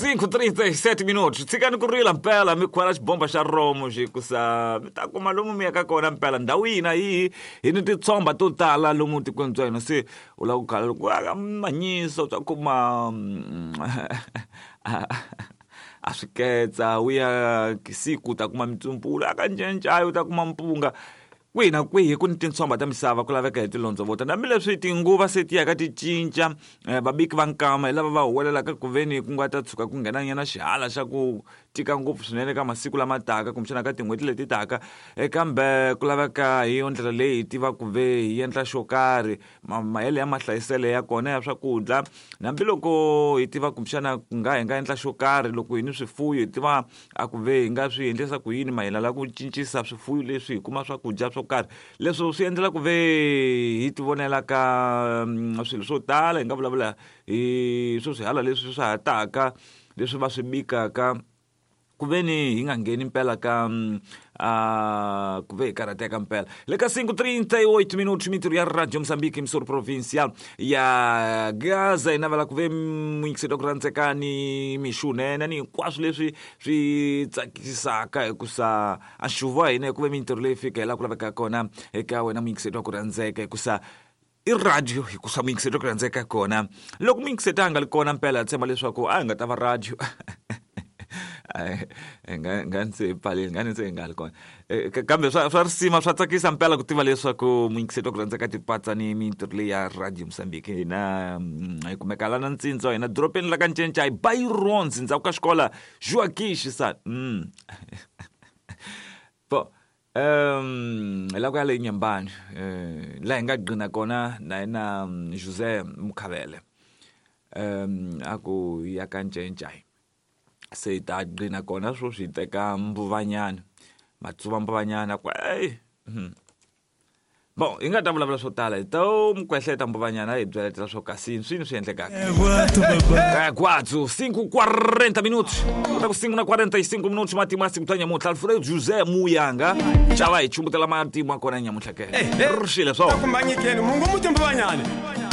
5:37 minutos. Tshikani ku rila mpela mi khwela xibomba xa romo xi kusa mi ta kuma lomu mi yaka kona mpela ndhawu yihi na yihi hi ni titshomba to tala lomu tikweni bya hina se u lava ku khala loko aka manyisa u ta kuma a swi ketsa u ya siku u ta kuma mitsumpulu aka ncencayo u ta kuma mpunga kwihi na kwihi ku ni tintshomba ta misava ku laveka hi tilondzovota hambileswi tinguva se ti yaka ti cinca vabiki va nkama hi lava va huwelelaka ku veni ku nga ta tshuka ku nghenanyana xihala xa ku tika ngopfu swinene ka masiku lama taka kumbexana ka tin'hweti leti taka kambe ku laveka hi yo ndlela leyi hi tiva ku ve hi endla xo karhi mahele ya mahlayiselo ya kona ya swakudya hambiloko hi tiva kumbexana ku nga hi nga endla xo karhi loko hi ni swifuyo hi tiva a ku ve hi nga swi endlisa ku yini mayelana la ku cincisa swifuyo leswi hi kuma swakudya swo karhi leswo swi endlela ku ve hi ti vonela ka swilo swo tala hi nga vulavula hi swo swihala leswi swa ha taka leswi va swi bikaka ku ve ni hi nga ngheni mpela ka ku ve hi karhateka mpela le ka 5:38 minutos mintirho ya radio Mozambique emissora provincial ya Gaza hi navela ku ve muyingiseri wa ku rhandzeka ni mixunene ni hinkwaswo leswi swi tsakisaka hikusa a nxuvu wa hina hi ku ve mintirho leyi fika hi laha ku lavekaka kona eka wena muyingiseri wa ku rhandzeka hikusa i radio hikusa muyingiseri wa ku rhandzeka kona loko muyingiseri a nga li kona mpela hi tshemba leswaku a hi nga ta va radio nga nga ni se hi pfaleli nga ni se hi nga li kona kambe swa risima swa tsakisa mpela ku tiva leswaku muyingiseri wa ku rhandzeka tipatsa ni mintirho leyi ya radio Mozambique hina hi kumeka la na ntsindza hina doropeni la ka Ncencai Byrons ndzhaku ka xikola Joaquim Chissano bo hi la ku ya le Nyembani laha hi nga gcina kona na yena Jose Mukhavele a ku ya ka Ncencai se hi ta gcina kona sweswi hi teka mbuvanyana matsuva mbuvanyana ku eyi bon hi nga ta vulavula swo tala hi to mi kwehleta mbuvanyana hi byeletela swo kasi swini swi endlekaka kwatso 5:40 minutos kota ku 5 na 45 minutos matimu ya siku ta nyamuntlha Alfredo Jose Muyanga xava hi chumbutela matimu ya kona nyamuntlha ke ri xile swo kumbanyikeni mungu muti mbuvanyane.